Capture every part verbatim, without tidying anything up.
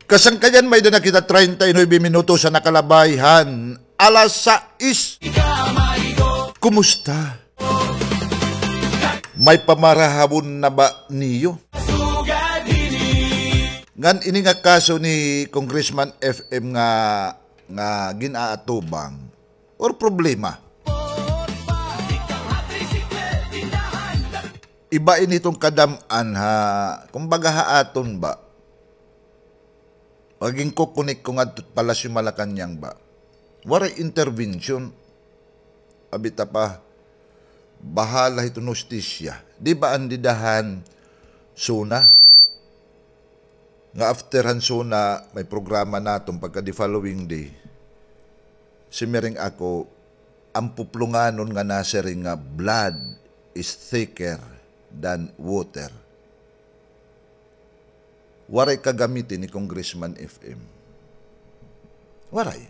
Kasangkayan, may-ada na kita treinta y nuebe minutos an nakalabay han alas sais. Kumusta? May pamarahabon na ba niyo? Ngan ini nga kaso ni Congressman F M nga, nga gin-aatubang or problema. Iba ini hiton kadam-an ha, kumbaga ha aton ba? Magin kukunik ko ngadto Palasyo Malacañang ba? Waray intervention. Abi ta pa, bahala hiton hustisya. Di ba an dida han SONA? Nga after han SONA, may programa naton pagka the following day. Simiring ako, an puplonganon nga nasiring nga blood is thicker than water. Waray kagamiti ni Congressman F M. Waray.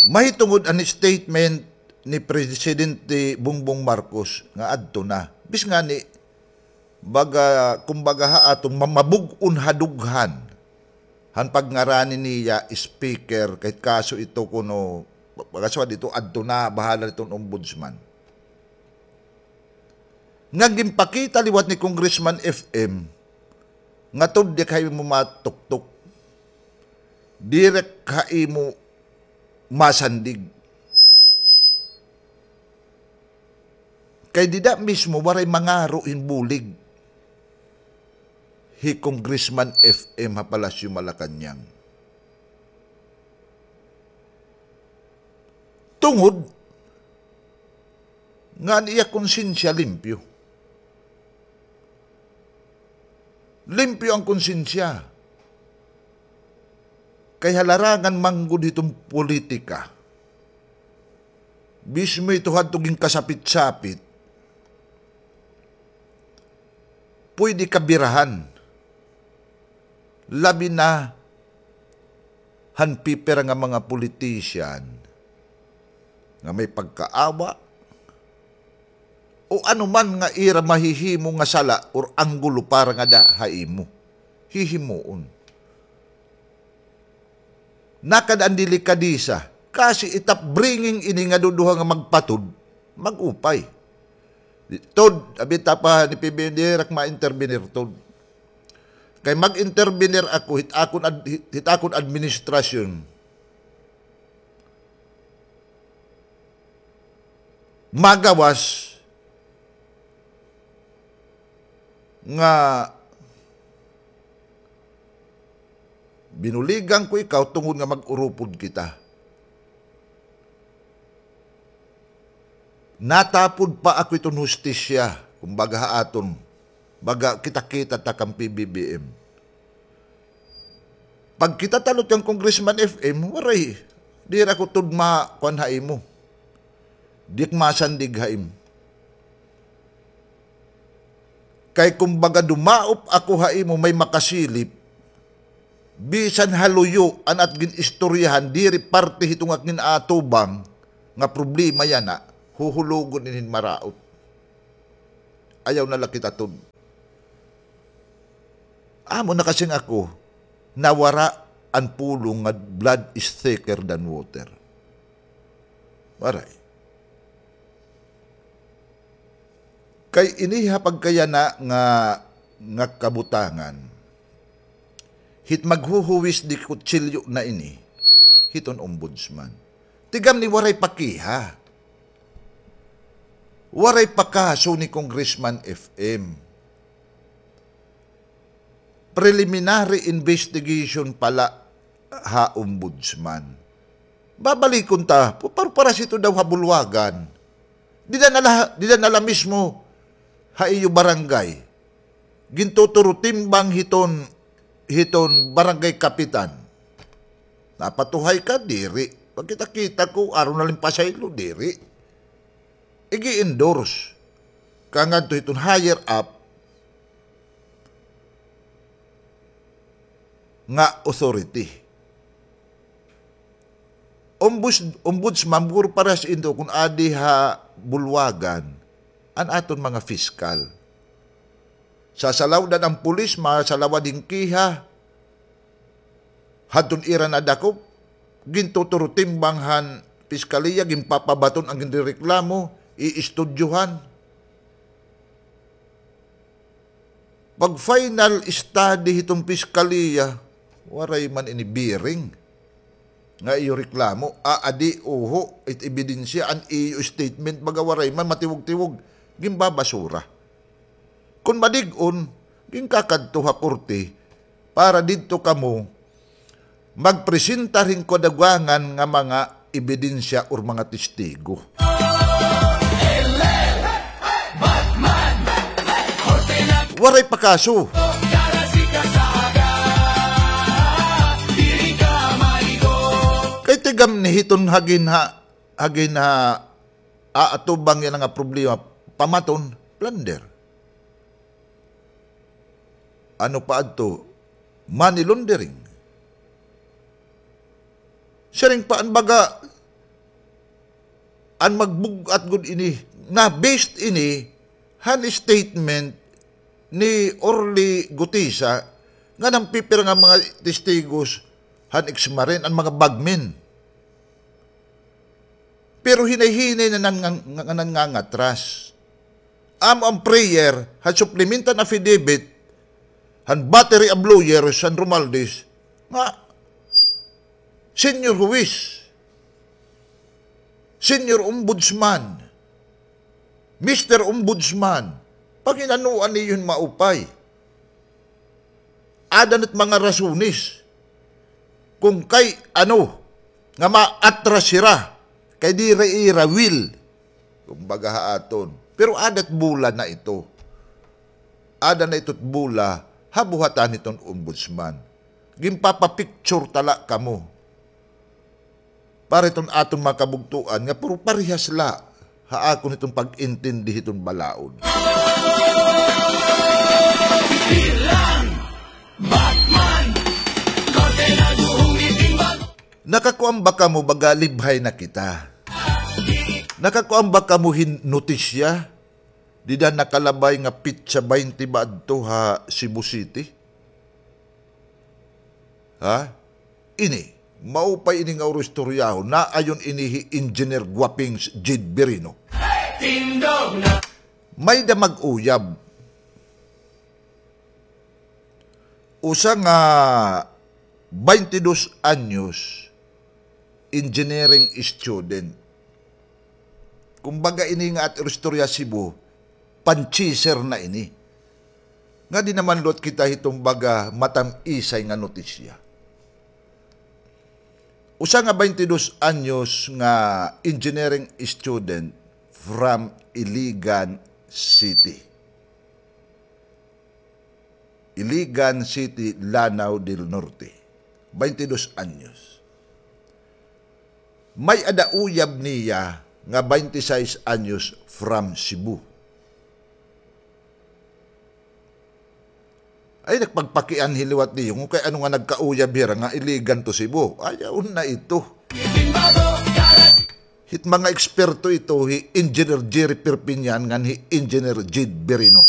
Mahitungod an statement ni Presidente Bongbong Marcos nga adto na. Bis ngani, baga, kumbaga ha aton ma-, mabug-on ha dughan. Han pagngarani niya speaker, kay kaso ito kuno, baga sa dito, adto na, bahala dito an ombudsman. Nga ginpakita liwat ni Congressman F M, nga tudyak ha imo matuktok. Direk ha imo masandig. Kay dida mismo waray mangaro hin bulig hi Congressman F M ha Palasyo Malacañang. Tungod nga an iya konsensya limpyo. Limpyo an konsensya. Kay ha larangan man gud hiton politika, mismo ito hadto ginkasapit-sapit, pwede ka birahan. Labi na han pipira nga mga politician nga may pagkaawa o ano man nga ira mahihimo nga sala or anggulo para ngada ha imo. Hihimuon. Nakada an delikadesa. Kasi it upbringing ini nga duduha nga magpatod, mag-upay. Tod, abi ta pa ni P B N, diri ak ma-intervenir, Tod. Kay mag-intervenir ako, hit akon ad-, hit, hit akon administrasyon, magawas nga binuligan ko ikaw tungod nga mag-urupod kita. Natapod pa ako iton hustisya, kumbaga ha aton, baga kita-kita ta kan P B B M. Pag kita talot kan Congressman F M, waray. Diri ako tud ma-, kuan ha imo. Di ak masandig ha imo. Kay kumbaga dumaop ako ha imo may makasilip, bisan ha luyo an at gin-istoryahan, diri parte hiton ak gin-aatubang nga problema yana, huhulogon ini hin maraot. Ayaw na la kita tud. Amo na kasing ako, nawara an pulong nga blood is thicker than water. Waray. Kay ini ha pagkayana nga, nga kabutangan, hit maghuhuwis di kutsilyo na ini, hiton ombudsman. Tigam ni waray pakiha. Waray pa kaso ni Congressman F M. Preliminary investigation pa la ha ombudsman. Babalikon ta, pu-, par-, para sito daw ha bulwagan. Dida na la, dida na la mismo ha iyo barangay. Gintuturo timbang hiton, hiton barangay kapitan. Napatuhay ka, diri. Pagkita-kita ko, aron na lang pasaylo, diri. Igi-endorse ka ngadto hiton higher up nga authority. Ombuds-, ombudsman, guro, para sa inyo, kun adi ha bulwagan, an aton mga piskal. Sasalawdan an pulis, masalawad hin kiha. Hadton ira nadakop, gintuturotimbang han piskaliya, ginpapabaton an ginrereklamo, iistudyohan. Pag-final study hiton piskaliya, waray man ini bearing nga iyo reklamo, aadi, uho, it ebidensya, an iyo statement, baga waray man, matiwog-tiwog, ginbabasura. Kon madig-on, ginkakadto ha korte para didto kamo magpresentar hin kadugangan nga mga ebidensya or mga testigo. Waray pa kaso. Kay tigam ni hiton hagin ha, hagin ha, aatubang yana nga problema, pamaton, plunder. Ano pa adto? Money laundering. Siring pa an baga, an magbug-at gud ini, na based ini han statement ni Orly Gutisa, ngan an pipira nga mga testigos han ex-Marine, an mga bagmen. Pero hinay-hinay na nan-, nga, nga nangangatras. Amo an prayer, han supplemental affidavit, han battery of lawyers, han Romualdez, nga, Senior Huwis, Senior Ombudsman, Mister Ombudsman, pangin-anuan niyo hin maupay. Aada na it mga rasones. Kon kay ano, nga maatras hira, kay diri ira will. Kumbaga ha aton. Pero aada it bola na ito. Aada na ito it bola, ha buhatan hiton ombudsman. Ginpapapicture ta la kamo. Para iton aton mga kabugtoan nga puro parehas la ha akon hiton pag-intindi hiton balaod. Nakakuan ba kamo baga libhay na kita? Nakakuan ba kamo hin notisya? Dida nakalabay nga pitsa baynte ba adto ha Cebu City? Ha? Ini, maupay ini nga uro istoryahon. Naayon ini hi Engineer Guapings Jade Birino. May-ada mag-uyab. Usa nga baynte dos anyos, engineering student. Kumbaga ini nga at istorya Cebu, pan-chaser na ini. Nga di naman lot kita hiton baga matam-isay nga notisya. Usa nga baynte dos anyos nga engineering student from Iligan City. Iligan City, Lanao del Norte, baynte dos anyos. May-ada uyab niya nga baynte sais anyos from Cebu. Ay, nagpagpakianhi liwat niyo, kay ano nga nagkauyab hira nga Iligan to Cebu. Ayaw na ito. Hit mga eksperto ito, hi Engineer Jerry Perpignan ngan hi Engineer Jade Birino.